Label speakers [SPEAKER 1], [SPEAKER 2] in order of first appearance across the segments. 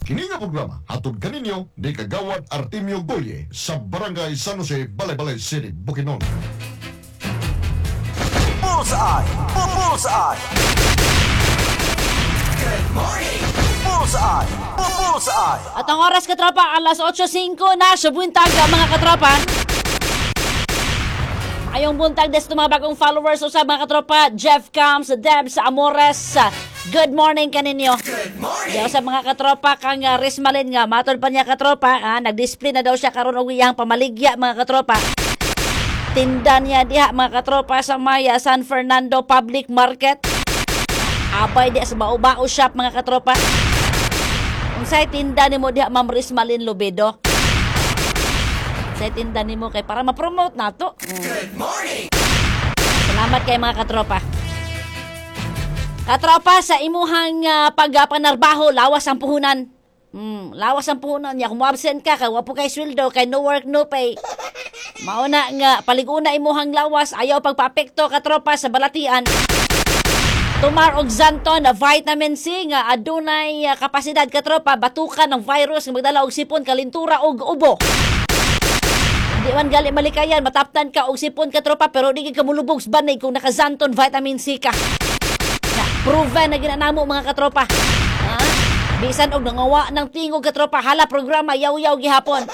[SPEAKER 1] Kini nga programa hatod kaninyo ni Kagawad Artemio Goye sa Barangay San Jose, Balay-Balay City, Bukidnon.
[SPEAKER 2] Bullseye! Bullseye! Bullseye! Bullseye!
[SPEAKER 3] At ang oras, katropa, alas 8:05 na sa buntag, mga katropa. Ayong buntag des mga bagong followers o sa mga katropa, Jeff Cams, Debs Amores. Good morning kaninyo. Good morning. Sa mga katropa kang Rismalin nga matod pa niya, katropa, nag-display na daw siya karon og iyang pamaligya, mga katropa. Tinda niya diha, mga katropa, sa Maya San Fernando Public Market. Abay diha sa Bao-Bao Shop, mga katropa. Unsay tinda nimo diha, Ma'am Rismalin Lubedo? Unsay tinda nimo kay para ma-promote nato? Good morning. Salamat kay mga katropa. Katropa, sa imuhang pagpanarbaho, lawas ang puhunan. Lawas ang puhunan niya. Kung absent ka, kay wa po kay sweldo, kay no work, no pay. Mauna nga, paliguna imuhang lawas, ayaw pagpaapekto, katropa, sa balatian. Tumar og Xanthone na vitamin C nga adunay kapasidad, katropa, batukan ng virus nga magdala og sipon, kalintura og ubo. Di man gali malikayan, mataptan ka og sipon, katropa, pero di ka mulubog sa banig kung naka-Xanthone vitamin C ka. Na, proven na ginanamo, mga katropa. Ha? Bisan og nangawa ng tingog, katropa, hala programa yaw-yaw gihapon.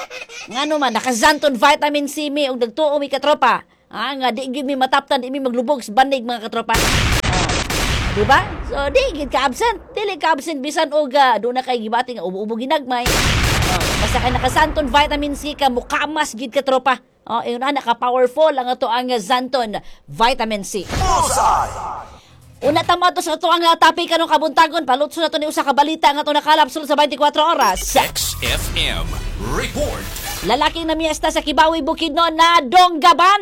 [SPEAKER 3] Ngano man naka-Xanthone vitamin C mi og nagtuo mi, katropa. Ha, nga di gyud mi mataptan, di mi maglubog sa banig, mga katropa. Di ba? So, di gid ka absent. Dili ka absent bisan og doon na kay gibati nga ubo-ubo ginagmay. Oh, basta kay naka-Xanthone vitamin C ka, mukamas gid, katropa. Oh, ingon na naka-powerful ang ato ang Xanthone vitamin C.
[SPEAKER 2] Bullseye!
[SPEAKER 3] Una tama to sa ato ang topic karong kabuntagon, palutso na to ni usa ka balita nga ato nakalap sulod sa 24 oras.
[SPEAKER 4] XFM Report.
[SPEAKER 3] Lalaking namiyesta sa Kibawi, Bukidnon na donggaban.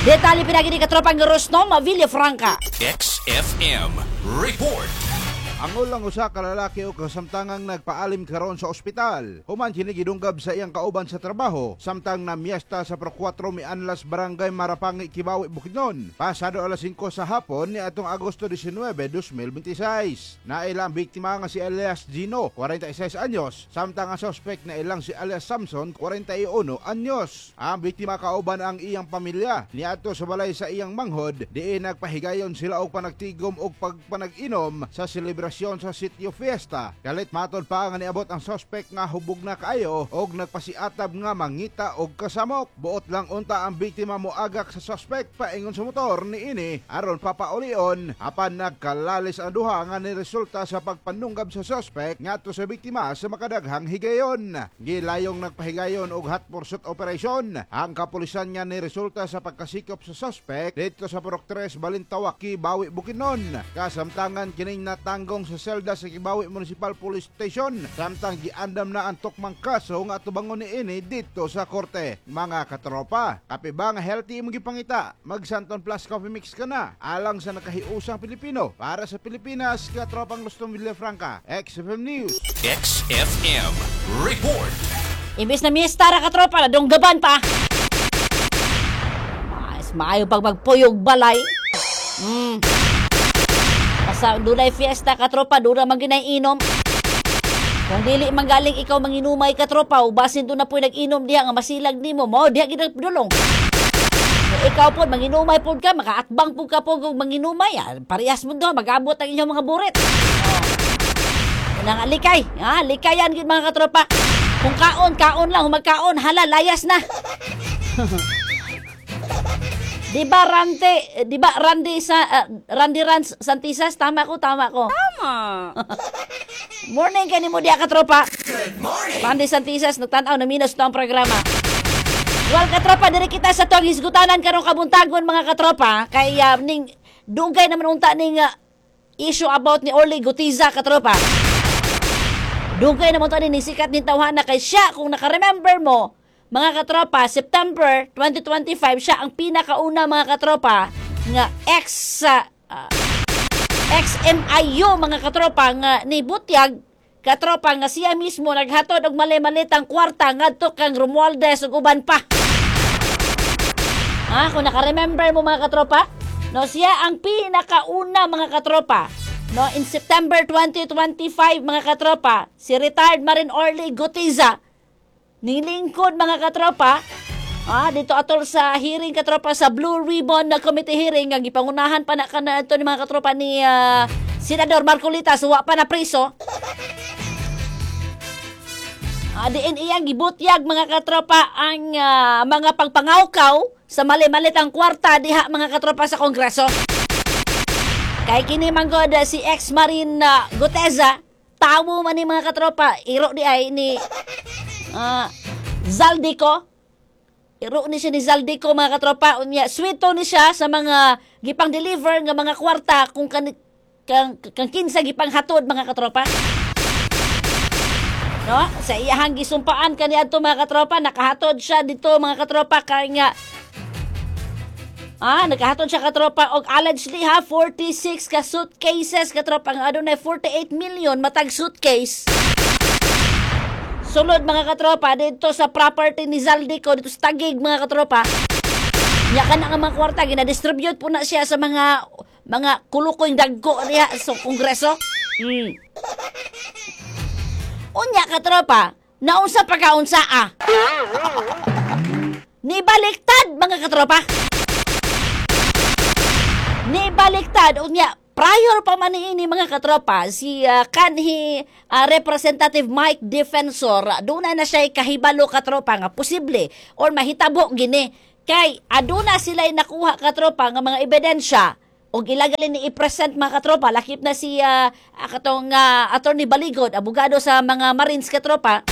[SPEAKER 3] Detalye pinagi ni katropang Rosnom Villafranca.
[SPEAKER 4] XFM Report.
[SPEAKER 5] Angol ang usa ka lalaki og kasamtangang nagpaalim karon sa ospital. Human kini gidunggab sa iyang kauban sa trabaho samtang namiesta sa Pro 4 Mianlas, Barangay Marapangi, Kibawi, Bukidnon. Pasado alas 5 sa hapon ni atong Agosto 19, 2026. Naila ang biktima nga si Elias Gino, 46 anyos, samtang ang suspect na ilang si Elias Samson, 41 anyos. Ang biktima kauban ang iyang pamilya niadto sa balay sa iyang manghod, diin nagpahigayon sila og panagtigom og pagpanag-inom sa selebrasyon sa sitio fiesta. Kalit matod pa nga niabot ang suspect nga hubog na kaayo og nagpasiatab nga mangita og kasamok. Buot lang unta ang biktima moagak sa suspect paingon sa motor niini aron papaulion, apan nagkalalis ang duha nga niresulta sa pagpanunggab sa suspect ngadto sa biktima sa makadaghang higayon. Gilayong nagpahigayon og hot pursuit operation ang kapulisan nga niresulta sa pagkasikop sa suspect dito sa Purok 3, Balintawak, Kibawi, Bukidnon. Kasamtangan kining natanggong sa selda sa Kibawi Municipal Police Station samtang giandam na ang tukmang kaso nga atubangon niini dito sa korte. Mga katropa, kape ba nga healthy imong gipangita? Mag Xanthone Plus Coffee Mix ka na. Alang sa nakahiusang Pilipino. Para sa Pilipinas, katropang Lustong Villafranca, XFM News.
[SPEAKER 4] XFM Report.
[SPEAKER 3] Imbis na miesta ra, katropa, nadunggaban pa. Mas maayo pag magpuyog balay. Basta dunay fiesta, katropa, doon na man ginay inom. Kung dili man galing ikaw manginumay, katropa, o basin doon na po'y nag-inom diha nga masilag nimo, mo diha gid dulong. Kung ikaw po, manginumay po ka, makaatbang po ka po kung manginumay, parehas mo doon, mag-abot ang inyong mga burit. Oh. Unang likay, likayan gid, mga katropa. Kung kaon, kaon lang, kung magkaon, hala, layas na. Di ba Rante, di ba Randy sa Randy Rans Santisas, tama ko, tama ko. Tama. Morning kanimo diha, katropa. Good morning. Randy Santisas nagtan-aw na minus to ang programa. Well, katropa, diri kita sa tuang hisgutanan karong kabuntagon, mga katropa, kay ning dugay naman unta ning issue about ni Orly Guteza, katropa. Dugay naman to ni sikat ni tawhana kay siya, kung naka-remember mo, mga katropa, September 2025, siya ang pinakauna, mga katropa, nga ex-MIU, mga katropa, nga ni butyag, katropa, nga siya mismo naghatod og mali-malitang kwarta ngadto kang Romualdez ug uban pa. Ha, kung naka-remember mo, mga katropa, no, siya ang pinakauna, mga katropa. No, in September 2025, mga katropa, si retired Marine Orly Guteza nilingkod, mga katropa, dito atol sa hearing, katropa, sa Blue Ribbon na Committee hearing nga gipangunahan pa na kana ito ni mga katropa ni Senador Marcolita, suwa pa na priso. Diin iyang gibutyag, mga katropa, ang mga pagpangawkaw sa mali-malitang kwarta diha, mga katropa, sa Kongreso. Kay kini manggod si ex-Marine Guteza, tawo man ni, mga katropa, iro di ay ni Zaldy Co. Iro ni siya ni Zaldy Co, mga katropa, unya swito ni siya sa mga gipang deliver nga mga kwarta kung kang kinsa gipang hatod, mga katropa. No? Sa iyahang gisumpaan kaniadto, mga katropa, nakahatod siya dito, mga katropa, kay nga nakahatod siya, katropa, og allegedly ha 46 ka suitcases, katropa, nga adunay 48 million matag suitcase. Sulod, mga katropa, dito sa property ni Zaldy Co dito sa Taguig, mga katropa. Nya kana nga mga kwarta gina-distribute po na siya sa mga kulukoy dagko diha sa Kongreso. Unya, katropa, naunsa pagkaunsa ah. Nibaliktad, mga katropa. Nibaliktad unya prior pa man niini, mga katropa, si kanhi Representative Mike Defensor, aduna na siya kahibalo, katropa, nga posible or mahitabo gini kay aduna sila nakuha, katropa, nga mga ebidensya og ilagali ni i-present, mga katropa, lakip na si katong Attorney Baligod, abogado sa mga Marines, katropa,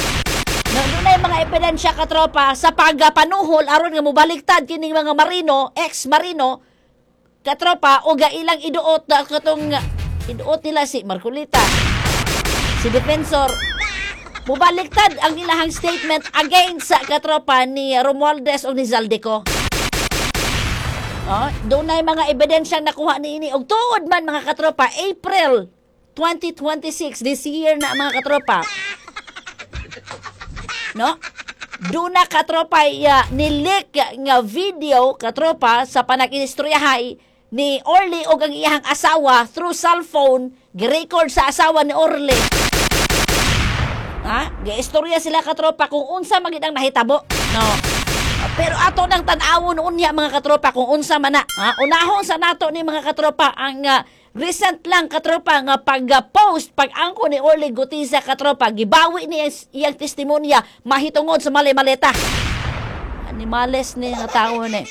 [SPEAKER 3] na dunay mga ebidensya, katropa, sa pagpanuhol aron nga mobaliktad kining mga marino, ex-marino, katropa, o ga ilang iduot na katong iduot nila si Marcoleta, si Defensor, mobaliktad ang ilahang statement against sa, katropa, ni Romualdez o ni Zaldy Co. Oh, dunay mga ebidensyang nakuha niini og tuod man, mga katropa, April 2026, this year na, mga katropa. No? Duna, katropa, ni-leak nga video, katropa, sa panakinistoryahay ni Orly og ang iyahang asawa through cellphone, gi-record sa asawa ni Orly. Ha? Giistorya sila, katropa, kung unsa man gid ang nahitabo. No. Pero ato nang tan-awon unya, mga katropa, kung unsa man na. Ha? Unahon sa nato ni, mga katropa, ang recent lang, katropa, nga pag-post, pag-angko ni Orly Guteza, katropa, gibawi niya iyang testimonya mahitungod sa mali-maleta. Animales ni nga tao ni.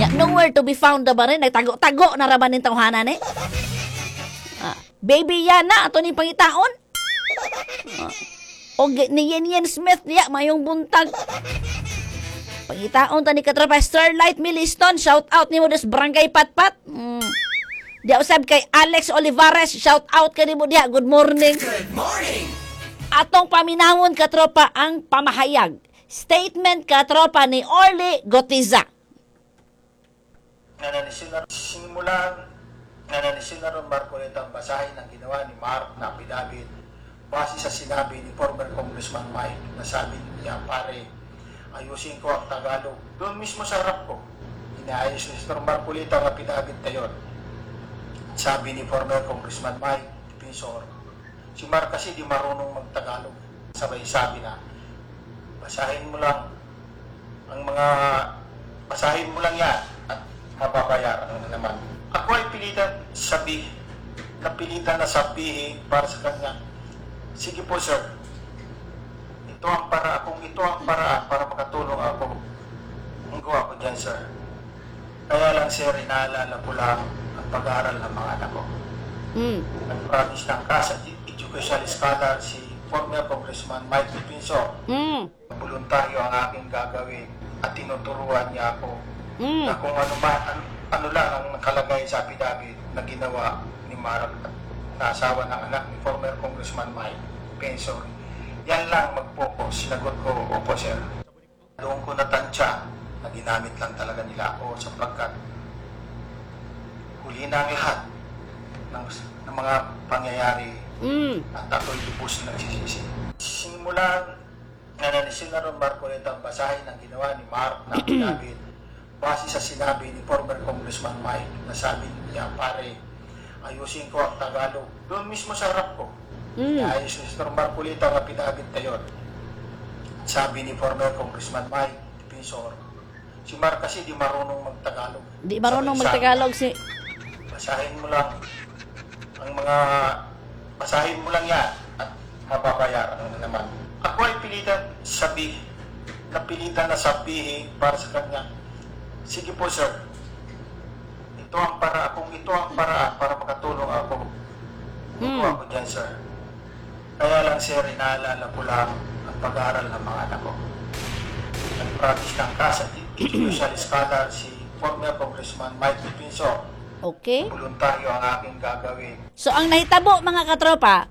[SPEAKER 3] Ya, nowhere to be found na ba rin? Nagtago-tago na ra ba ning tawhana ni? Baby yan na, ato ni pangitaon. O ni Yen Yen Smith niya, mayong buntag. Pangitaon ta ni, katropa, Starlight Miliston, shout out nimo des Barangay Patpat. Diya usab kay Alex Olivares, shout out kanimo diha. Good morning.
[SPEAKER 4] Good morning.
[SPEAKER 3] Atong paminawon, katropa, ang pamahayag. Statement, katropa, ni Orly Guteza.
[SPEAKER 6] Na simulan na ni Senator Marcoleta ang basahin ang ginawa ni Mark na affidavit base sa sinabi ni former Congressman Mike na sabi niya, "Pare, ayusin ko ang Tagalog." Doon mismo sa harap ko, inaayos ni Senator Marcoleta ang affidavit na yun. Sabi ni former Congressman Mike Defensor, si Mark kasi di marunong magtagalog. Sabay sabi na, "Basahin mo lang ang mga basahin mo lang yan at mababayaran mo na naman." Ako ay napilitan na sabihin para sa kanya, "Sige po, sir, kung ito ang paraan para makatulong ako, ang gawa ko dyan, sir. Kaya lang, sir, inaalala ko lang ang pag-aaral ng mga anak ko." Nag-promise ng cash at educational scholar si former Congressman Mike Defensor. Voluntaryo ang aking gagawin at tinuturuan niya ako na kung ano man, ano lang ang nakalagay sa affidavit na ginawa ni Mark na asawa ng anak ni former Congressman Mike Defensor. Yan lang mag-focus. Sinagot ko, "Opo, sir." Doon ko natansya na ginamit lang talaga nila ako sapagkat huli na ang lahat ng mga pangyayari at ako'y lubos na nagsisisi. Simulan na ni Senator Marcoleta ang basahin ang ginawa ni Mark na affidavit base sa sinabi ni former Congressman Mike na sabi niya, "Pare, Ayusin ko ang Tagalog. Doon mismo sa harap ko. Ayos ni Sir Marcolita ang affidavit na yun. Sabi ni former Congressman Mike Defensor, si Mark kasi di marunong magtagalog.
[SPEAKER 3] Di marunong
[SPEAKER 6] Sabi sa akin,
[SPEAKER 3] magtagalog si
[SPEAKER 6] Basahin mo lang ang mga basahin mo lang yan at mababayaran mo na naman. Ako ay napilitan na sabihin para sa kanya. Sige po, sir. Ito ang para kung ito ang paraan para makatulong ako. Ito ako dyan, sir. Kaya lang, sir, inaalala ko lang ang pag-aaral ng mga anak ko. Nag-practice ng kasa, judicial scholar si former Congressman Mike Defensor.
[SPEAKER 3] Okay.
[SPEAKER 6] Voluntaryo ang aking gagawin.
[SPEAKER 3] So ang nahitabo, mga katropa,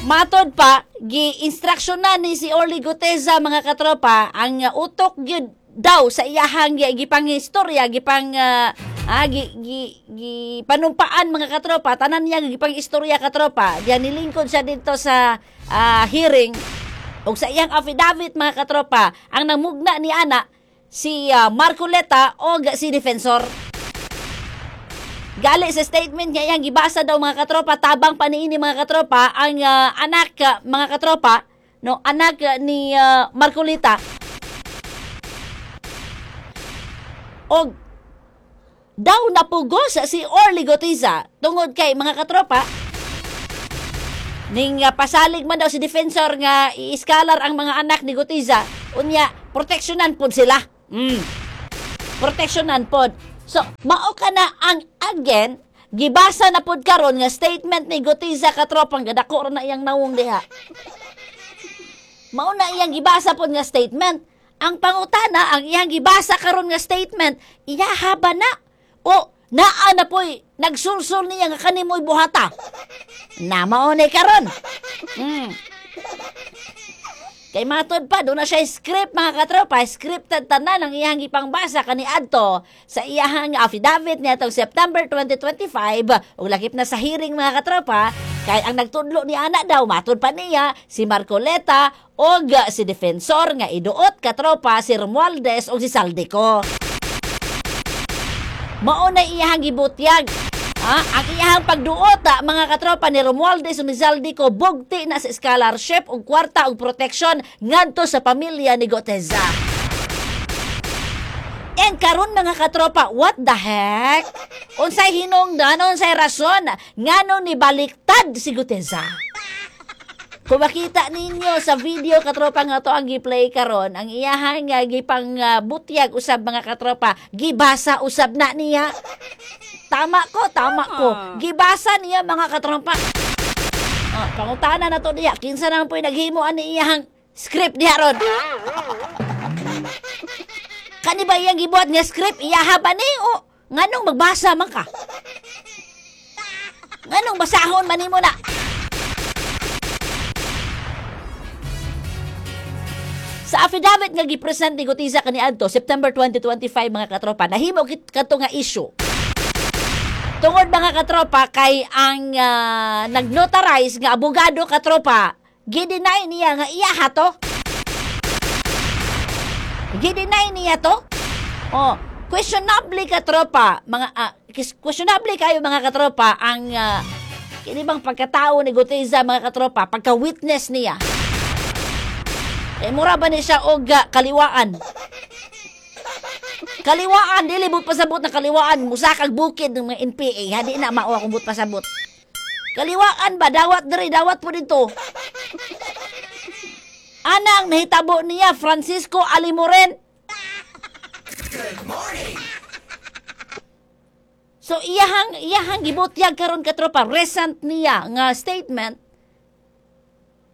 [SPEAKER 3] matod pa gi-instruction na ni si Orly Guteza, mga katropa, ang utok gyud daw sa iyahang gipang istorya, gipang gi, gi, gi panumpaan, mga katropa, tanan niya gipang istorya, katropa, diyan nilingkod siya dito sa hearing ug sa iyang affidavit, mga katropa, ang namugna ni ana si Marcoleta o si Defensor. Gali sa statement niya iyang gibasa daw, mga katropa, tabang pa niini, mga katropa, ang anak, mga katropa, no, anak ni Marcolita. Og daw napugos si Orly Guteza tungod kay, mga katropa, ning pasalig man daw si Defensor nga i-scholar ang mga anak ni Guteza, unya proteksyonan pod sila. Proteksyonan pod. So, mao ka na ang again, gibasa na pod karon nga statement ni Guteza, katropang gadako ra na iyang nawong diha. Mao na iyang gibasa pod nga statement. Ang pangutana, ang iyang gibasa karon nga statement, iyaha ba na? O naa na po'y nagsulsul niya nga kanimoy buhata? Na mao ni karon. Kay matod pa, doon na siya script, mga katropa, scripted tanan ang iyang ipangbasa kaniadto sa iyang affidavit niya itong September 2025 ug lakip na sa hearing, mga katropa, kay ang nagtudlo ni ana daw, matod pa niya, si Marcoleta og si Defensor nga iduot, katropa, si Romualdez og si Zaldy Co. Mao na iyang gibutyag. Ang iyang pagduot, mga katropa, ni Romualdez ug ni Zaldy Co, bugti na sa scholarship ug kwarta ug protection ngadto sa pamilya ni Guteza. And karon, mga katropa, what the heck? Unsay hinungdan, unsay rason ngano ni baliktad si Guteza? Kung makita ninyo sa video, katropa, nga to ang gi-play karon, ang iyahang nga gipang butyag usab, mga katropa, gibasa usab na niya. Tama ko, tama ko. Gibasa niya, mga katropa. Oh, pangutana na to diya, kinsa naman po'y naghimo ani iyahang script diha ron? Kani ba iyang gibuhat nga script, iyaha ba ni o nganong magbasa man ka? Nganong basahon man nimo na? Sa affidavit nga gipresent ni Guteza kaniadto September 2025, mga katropa, nahimo kato nga issue. Tungod, mga katropa, kay ang nag-notarize nga abogado, katropa, gideny niya nga iya to. Gideny niya to. Oh, questionable, katropa, mga questionable kayo, mga katropa, ang kini bang pagkatao ni Guteza, mga katropa, pagka-witness niya. Eh, mura ba ni siya og kaliwaan? Kaliwaan, dili but pasabot na kaliwaan, musakag bukid ng mga NPA, ha, di na mao akong but pasabot. Kaliwaan ba, dawat diri, dawat po dito. Ana ang nahitabo niya, Francisco Alimoren.
[SPEAKER 2] Good morning.
[SPEAKER 3] So iyahang gibutyag karon, katropa, recent niya nga statement,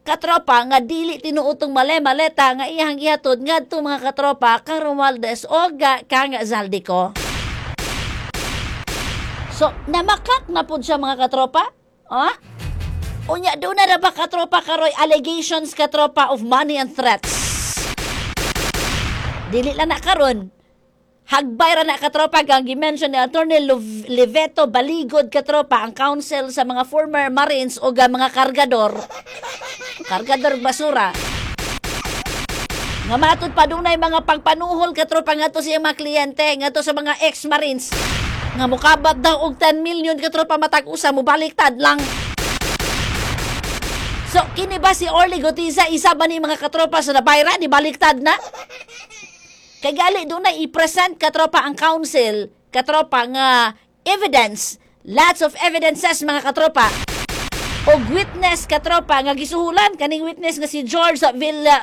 [SPEAKER 3] katropa, nga dili tinuod tong male-maleta nga iyahang gihatod ngadto, mga katropa, kang Romualdez o kang Zaldy Co. So namakak na pud siya, mga katropa. Ha? Unya doon na ba, katropa, karoy allegations, katropa, of money and threats. Dili lang na karon. Hagbay ra na, katropa, kang gi-mention ni Attorney Leveto Baligod, katropa, ang counsel sa mga former Marines o mga kargador. Kargador basura. Nga matud pa dunay mga pagpanuhol, katropa, ngadto sa iyang mga kliyente, ngadto sa mga ex-Marines. Nga mukabat daw og 10 million, katropa, matag usa, mubaliktad lang. So, kini ba si Orly Guteza, isa ba ni mga katropa sa nabayra, ni baliktad na? Kay gali doon na i-present, katropa, ang council, katropa, nga evidence, lots of evidences, mga katropa. Og witness, katropa, nga gisuhulan kaning witness nga si George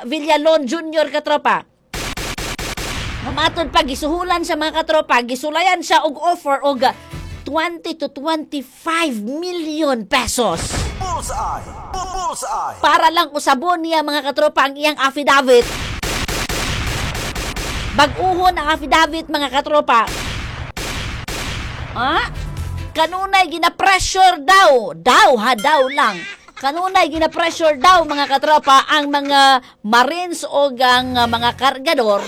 [SPEAKER 3] Villalon Jr., katropa. Mamatod pa gisuhulan siya, mga katropa, gisulayan siya og offer og 20 to 25 million pesos.
[SPEAKER 2] Bullseye! Bullseye!
[SPEAKER 3] Para lang usabon niya, mga katropa, ang iyang affidavit. Bag-uhon ang affidavit, mga katropa. Ah? Kanunay gina-pressure daw. Daw ha, daw lang. Kanunay gina-pressure daw, mga katropa, ang mga marines o ang mga kargador.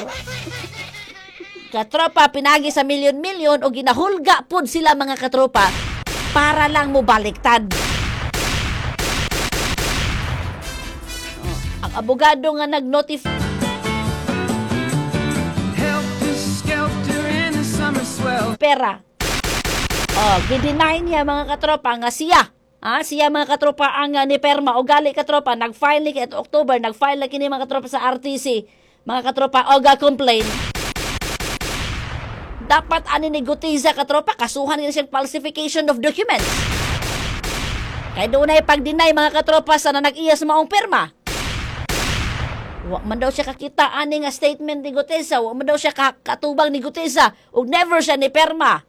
[SPEAKER 3] Katropa, pinagi sa milyon-milyon o ginahulga pud sila, mga katropa, para lang mo baliktad. Oh, ang abogado nga nag-notify
[SPEAKER 7] Helter skelter in the summer swell.
[SPEAKER 3] Pera. Oh, gideny niya, mga katropa, nga siya. Ah, siya, mga katropa, ang ni perma o gali, katropa, nag-file ni at October, nag-file na kini, mga katropa, sa RTC. Mga katropa, og complain. Dapat ani ni Guteza, katropa, kasuhan niya siyang falsification of documents. Kay doon ay pag-deny, mga katropa, sa na nag-iya sa maong pirma. Wa man daw siya kakita ani nga statement ni Guteza, wa man daw siya katubang ni Guteza ug never siya ni perma.